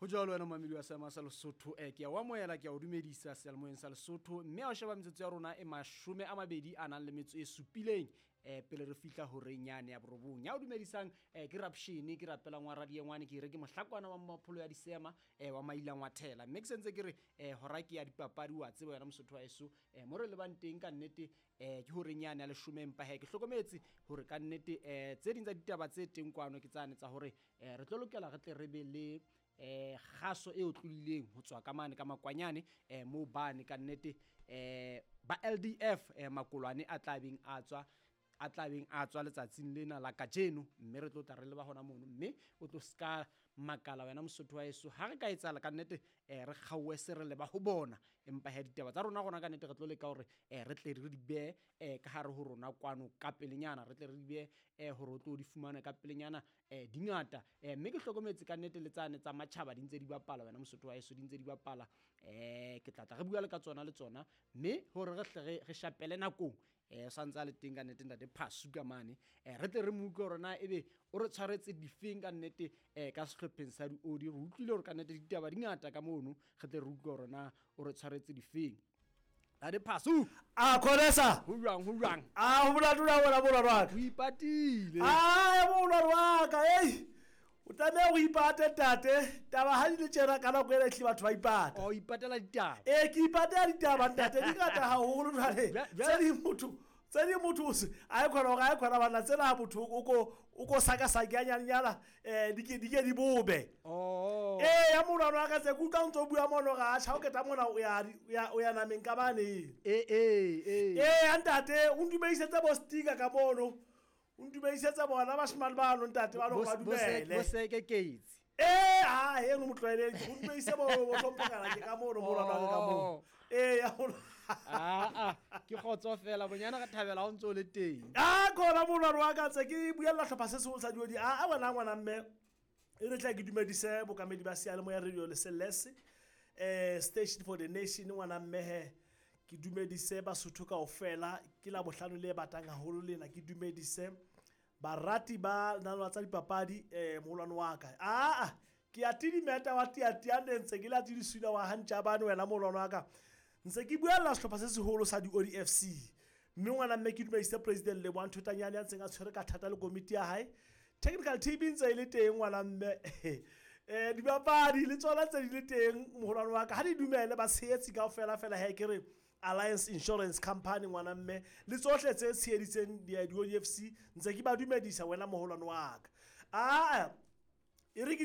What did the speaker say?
Ho jwalo wena momamedi wa seema sa Lesotho, ke a o amohela, ke a o dumedisa seyalemoyeng sa Lesotho, mme ha o sheba metsotso ya rona e 27 a nang le metso e supileng pele re fihla horeng yane ya borobong. Ya o dumedisang ke Rapshene, ke rapelang wa radiengwane, ke re ke mohlakwana wa mmapholo ya disema wa mailang wa thela. Mme ke sentse ke re hora ke ya dipapadi, wa tseba wena Mosotho wa heso, mo re lebang teng ka nnete ke horeng yane ya leshome, empa he ke hlokometse hore ka nnete tse ding tsa ditaba tse teng kwano ke tsane tsa hore re tlo lokela re tle re be le kgaso e otlolileng ho tswa ka mane ka makwanyane moo bane ka nnete ba LDF makolwane a tla beng a tswa, a tla beng a tswa letsatsing lena la kajeno, mme re tlo tla re leba hona mono, mme o tlo ska makala wena Mosotho wa heso ha re ka etsahala ka nnete re kgaowe se re leba ho bona, empa he ditaba tsa rona rona ka nnete re tlo leka hore re tle re di behe ka hare ho rona kwano ka pelenyana, re tle re di behe hore o tlo di fumane ka pelenyana di ngata. Mme ke hlokometse ka nnete le tsane tsa matjhaba di ntse di bapala wena Mosotho wa heso, di ntse di bapala, ke tla tla re bua le ka tsona le tsona, mme hore re hle re shapele nakong santse a le teng ka nnete ntate Phasu ka mane, re tle re mo utlwe hore na ebe o re tshwaretse difeng ka nnete ka sehlopheng sa diodi. Re utlwile hore ka nnete ditaba di ngata ka mono, re tle re utlwe hore na o re tshwaretse difeng. Ntate Phasu, a khonesa ho jwang, ho jwang? A ho bola dula wena molwano wa ka. O ipatile. A molwano wa ka, ei o tlameha ho ipate ntate, taba ha di le tjena ka nako ena ehlile batho ba ipata. O ipatela ditaba. Ee, ke ipatela ditaba ntate, di ngata haholo jwale. Tse ding motho, tse ding motho o se, a e khona hore a e khona banna, tsena motho o ko sakasake a nyanyana, di ke, di ke di bobe. Oh. Ee, ya molwano wa ka tse, ke utlwa o ntso bua mono hore, atjha, o keta mona, o ya di, o ya, o ya nameng ka mane. Ee, ee, ee. Ee, ya ntate, o ntumedisetse bo sticker ka mono. O ntumedisetse bona bashemane bano ntate, ba ba dumele. Bo seke ketsi. Ee, ha, he, no motlwaeleng. O ntumedise bo, bo hlomphokana ke ka mono, molwano wa ka ka mono. Oh. Ee, ya molwano. Ah, ah, ke kgotso fela, bonyana re thabela ha o ntso o le teng. Ah, kona molwano wa ka ntse ke buella hlopha se seholo sa diodi. Ah, ah, wena ngwana mme, e re tla ke dumedise bokamedi ba seyalemoya radio le Celeste, Station for the Nation, ngwana mme he. Ke dumedise Basotho kaofela, ke la bohlano le batang haholo lena, ke dumedise barati ba nalwa tsa dipapadi, moholwane wa ka. Ah, ah, ke a tidimeta wa tiatiane ntse ke la tidisula wa hantjabane wena moholwane wa ka. Ntse ke buella sehlopha se seholo sa diodi FC. Mme ngwana mme ke dumedise President Lebohang Thotanyane ya ntseng a tshwere ka thata le komiti ya hae. Technical team ntse e le teng ngwana mme. Dibapadi le tsona tse di le teng moholwane wa ka. Ha di dumele ba tshehetsi kaofela fela he ke re Alliance Insurance Company ngwana mme le tsohle tse tsheheditseng di-O D F C ntse ke ba dumedisa wena moholwane wa ka. Ah, e re ke